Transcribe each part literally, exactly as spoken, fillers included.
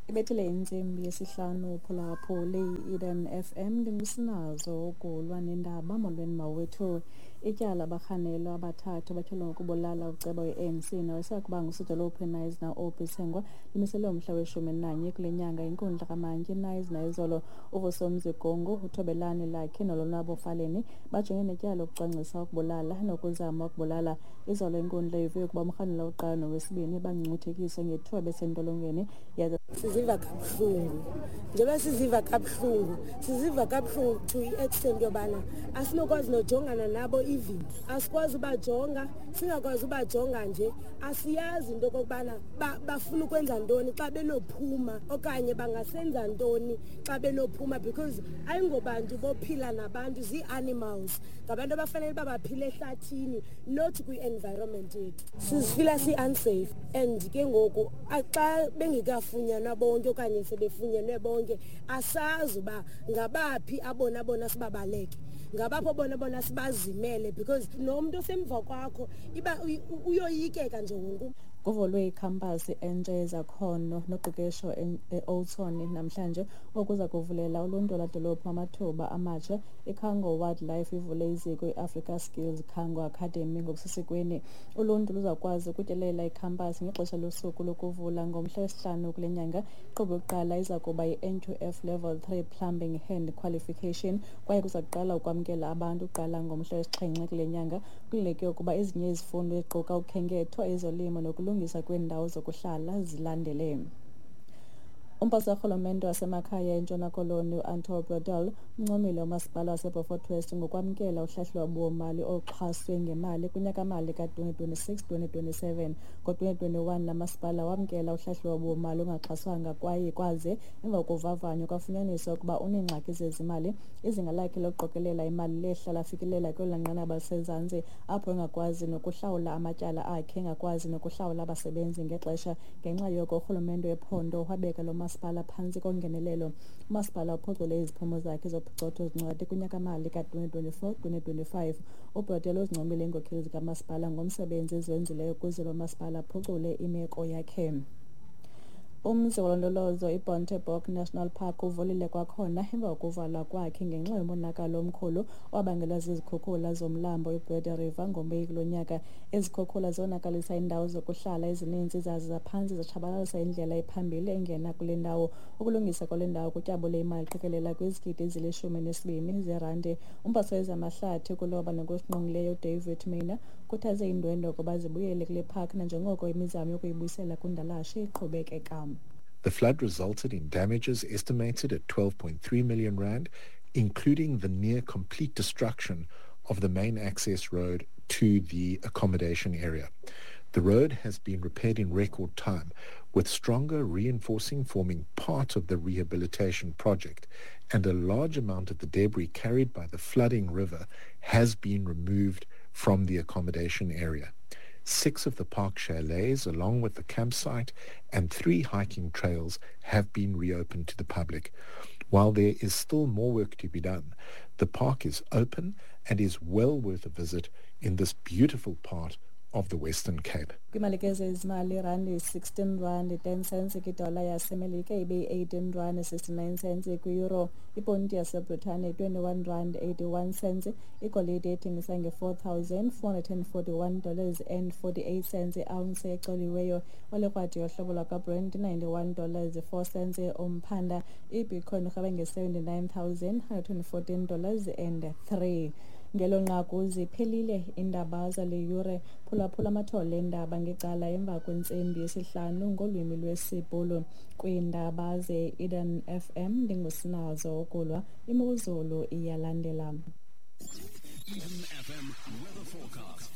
Ibethile intsimbi yesihlanu phulaphuli i-Eden F M ndingusinazo ukulwa nendaba. Molweni mawethu. Ityala abarhanelwa abathathu batyholwa ngokubulala uceba we-A N C nowayesakuba ngusodolophu eKnysna uObie Tsengwa limiselwe umhla weshumi nanye kule nyanga inkundla kamantyi eKnysna izolo. UVusomzi Gongo, uThobelani Lakhe noLonwabo Faleni bajongene netyala lokucwangcisa ukubulala nokuzama ukubulala. Izolo inkundla ive ukuba umrhanelwa wokuqala nowesibini bangcuthekiswe ngethuba besentolongweni. Siziva kabuhlungu, njengoba siziva kabuhlungu siziva kabuhlungu to i-extent yobana asinokwazi nojongana nabo, even asikwazi ubajonga, singakwazi ubajonga nje. Asiyazi into okokubana bafuna ukwenza ntoni xa benophuma okanye bangasenza ntoni xa benophuma, because ayingobantu bophila nabantu, zii-animals, ngabantu abafanele uba baphile ehlathini, not kwi-environment yethu. Sizifila si-unsafe and ke ngoku xa bengekafunyanwa bonke okanye sebefunyenwe bonke, asazi uba ngabaphi abona bona sibabaleke, ngabaphi bona bona sibazimele, because nomntu osemva kwakho iba uyoyikeka nje wonke. Kuvulwe ikhampasi entsha yezakhono noqeqesho e-Oudtshoorn namhlanje okuza kuvulela uluntu lwadolophu amathuba amatsha. IKhango Wildlife ivule iziko i-Africa Skills Khango Academy ngokusesikweni. Uluntu luzakwazi ukutyelela ikhampasi ngexesha losuku lokuvula ngomhla wesihlanu kule nyanga. Inkqubo yokuqala iza kuba yi-N Q F Level three Plumbing Hand Qualification kwaye kuza kuqala ukwamkela abantu kuqala ngomhla wesixhenxe kule nyanga. Kulindeleke ukuba ezinye izifundo eziquka ukhenketho, ezolimo nokulungisa kweendawo zokuhlala zilandele. Umphathiswa karhulumente wasemakhaya eNtshona Koloni uAnton Bredell uncomile umasipala waseBeaufort West ngokwamkela uhlahlo-lwabiwo-mali oluxhaswe ngemali kunyaka-mali ka-twenty twenty-six twenty twenty-seven. Ngo-twenty twenty-one la masipala wamkela uhlahlo-lwabiwo-mali olungaxhaswanga kwaye kwaze emva kovavanyo kwafunyaniswa ukuba uneengxaki zezimali. Izinga lakhe lokuqokelela imali lehla lafikelela kwelona nqanaba lisezantsi apho engakwazi nokuhlawula amatyala akhe, engakwazi nokuhlawula abasebenzi ngexesha. Ngenxa yoko urhulumente wephondo wabeka lo masipala phantsi kongenelelo. Umasipala uphucule iziphumo zakhe zophicotho zincwadi kunyaka-mali ka-twenty twenty-four twenty twenty-five. UBredell uzincomile iinkokheli zikamasipala ngomsebenzi eziwenzileyo ukuze lo masipala aphucule imeko yakhe. Umzi wolondolozo iBontebok National Park uvulile kwakhona emva kokuvalwa kwakhe ngenxa yomonakalo omkhulu owabangelwa zizikhukhula zomlambo iBreede River ngoMeyi kulo nyaka. Izikhukhula zonakalisa iindawo zokuhlala ezininzi zaze zaphantsi zatshabalalisa indlela ephambili engena kule ndawo. Ukulungisa kwale ndawo kutyabule imali eqikelela kwizigidi ezilishumi nesibini zeerandi. Umphathiswa wezamahlathi kuloba nokusingqongileyo uDavid Maynor ukhuthaze iindwendwe ukuba zibuyele kule park nanjengoko imizamo yokuyibuyisela kundalashe iqhubekeka. The flood resulted in damages estimated at twelve point three million rand, including the near complete destruction of the main access road to the accommodation area. The road has been repaired in record time, with stronger reinforcing forming part of the rehabilitation project, and a large amount of the debris carried by the flooding river has been removed from the accommodation area. Six of the park chalets, along with the campsite and three hiking trails, have been reopened to the public. While there is still more work to be done, the park is open and is well worth a visit in this beautiful part of the Western Cape. Kwimali ke zezimali, irandi sixteen rand ten cents kwidola yaseMelika ibe yi-eighteen rand sixty-nine cents kwi-euro, iponti yaseBritane twenty-one rand eighty-one cents, igolide ethengisa nge-four thousand four hundred and forty-one dollars and forty-eight cents i-ounce ecoliweyo, olekrwadi yohlobo lwakwaBrent ninety-one dollars four cents umphanda, iBitcoin irhabe nge-seventy-nine thousand hundred and fourteen dollars and three. Ngelo nqaku ziphelile iindaba zale yure. Phulaphula amathole eendaba ngecala emva kwentsimbi yesihlanu ngolwimi lwesiBhulu. Kwiindaba ze-Eden F M ndingusinazo ukulwa. Imozulu iyalandela. Eden F M weather forecast.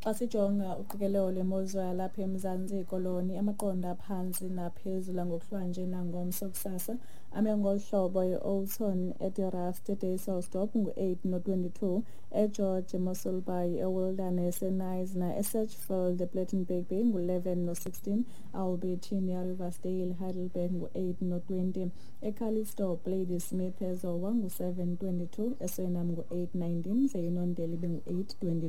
Xa sijonga uqikelelo lwemozulu yalapha eMzantsi Koloni, amaqondo aphantsi naphezulu ngokuhlwanje nangomso kusasa ame ngolu hlobo: e-Oudtshoorn, eDe-Rust, eDysselsdorp ngu-eight no-twenty-two, eGeorge, eMossel Bay, eWilderness, eKnysna, eSedgefield, ePlettenberg Bay ngu-eleven no-sixteen, Albertina, Riversdale, Heidelberg ngu-eight no-twenty, eCalitzdorp, Ladysmith, eZowa ngu-seven twenty-two, eSuriname ngu-eight nineteen, ze iNondeli ibe ngu-eight twenty.